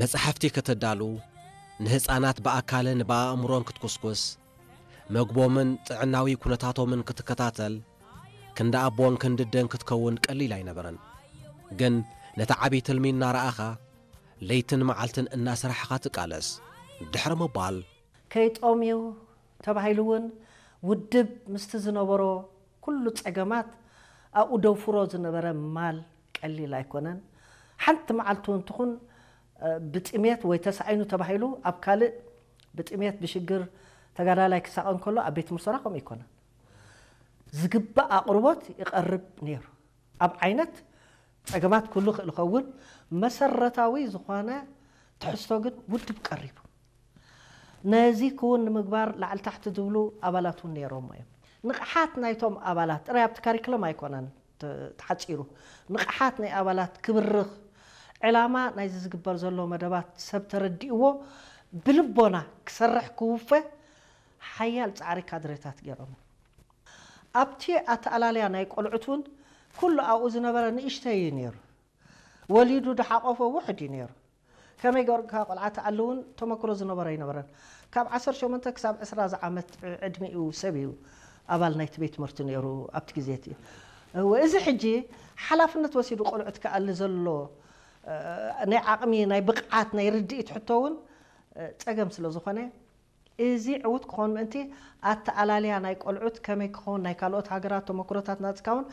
መጻሕፍቲ ከተዳሉ፣ ንህጻናት ብኣካልን ብኣእምሮን ክትኩስኩስ፣ መግቦምን ጥዕናዊ ኩነታቶምን ክትከታተል፣ ክንዲ ኣቦን ክንዲ ኣደን ክትከውን ቀሊል ኣይነበረን። ግን ነቲ ዓቢ ትልሚ እናረኣኻ፣ ለይትን መዓልትን እናሰራሕኻ ትቃለስ። ድሕሪ ምባል፣ ከይጦምዩ ተባሂሉ እውን ውድብ ምስቲ ዝነበሮ ኩሉ ጸገማት ኣብኡ ደውፍሮ ዝነበረ ማል ቀሊል ኣይኮነን። ሓንቲ መዓልቲ እውን ትኹን ብጥሜት ወይ ተሳኢኑ ተባሂሉ ኣብ ካልእ ብጥሜት ብሽግር ተጋዳላይ ክሳቐ እንከሎ ኣብ ቤት ምርሰራ ከምኡ ኣይኮነን። ዝግባእ ኣቕርቦት ይቐርብ ነይሩ። ኣብ ዓይነት ጸገማት ክህሉ ይኽእል ይኸውን፣ መሰረታዊ ዝኾነ ትሕዝቶ ግን ውድብ ቀሪቡ። ነዚ ክውን ንምግባር ላዕሊ ታሕቲ ዝብሉ ኣባላት እውን ነይሮሞ እዮም። ንቕሓት ናይቶም ኣባላት ጥራይ ኣብቲ ካሪክለም ኣይኮነን ተ- ተሓጺሩ። ንቕሓት ናይ ኣባላት ክብርኽ፣ ዕላማ ናይዚ ዝግበር ዘሎ መደባት ሰብ ተረዲእዎ ብልቦና ክሰርሕ ክውፈ ሓያል ጻዕሪ ካድሬታት ገይሮም። ኣብቲ ኣተኣላልያ ናይ ቆልዑት እውን ኩሉ ኣብኡ ዝነበረ ንእሽተይ እዩ ነይሩ። ወሊዱ ድሓቆፎ ውሕድ እዩ ነይሩ። ከመይ ገርካ ቆልዓ ትኣሊ እውን ተመክሮ ዝነበሮ ኣይነበረን። ካብ ዓሰርተ ሸሞንተ ክሳብ ዕስራ ዝዓመት ዕድሚኡ ሰብ እዩ ኣባል ናይቲ ቤት ትምህርቲ ነይሩ ኣብቲ ግዜ እቲ። እወ፣ እዚ ሕጂ ሓላፍነት ወሲዱ ቆልዑት ክኣሊ ዘሎ ናይ ዓቕሚ ናይ ብቕዓት ናይ ርድኢት ሕቶ እውን ጸገም ስለ ዝኾነ እዚ ዕዉት ክኾን ምእንቲ ኣተኣላልያ ናይ ቆልዑት ከመይ ክኸውን ናይ ካልኦት ሃገራት ተመክሮታት ናጽካ እውን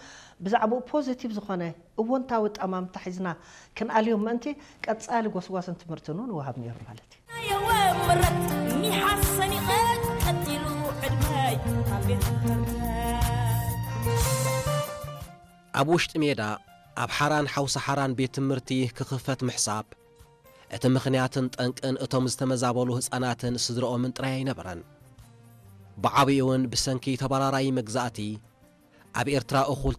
ብዛዕባኡ ፖዚቲቭ ዝኾነ እወንታዊ ጠማምታ ሒዝና ክንኣልዮም ምእንቲ ቀጻሊ ጎስጓስን ትምህርትን እውን ይወሃብ ነይሩ ማለት እዩ። የወምረት ሚሓሰኒቐ ቀጢሉ ዕድመይ ኣብ ቤት ትምህርተይ ኣብ ውሽጢ ሜዳ ኣብ ሓራን ሓውሲ ሓራን ቤት ትምህርቲ ክኽፈት ምሕሳብ እቲ ምኽንያትን ጠንቅን እቶም ዝተመዛበሉ ህፃናትን ስድረኦምን ጥራይ ኣይነበረን። ብዓብይውን ብሰንኪ ተባራራይ መግዛእቲ ኣብ ኤርትራ እኹል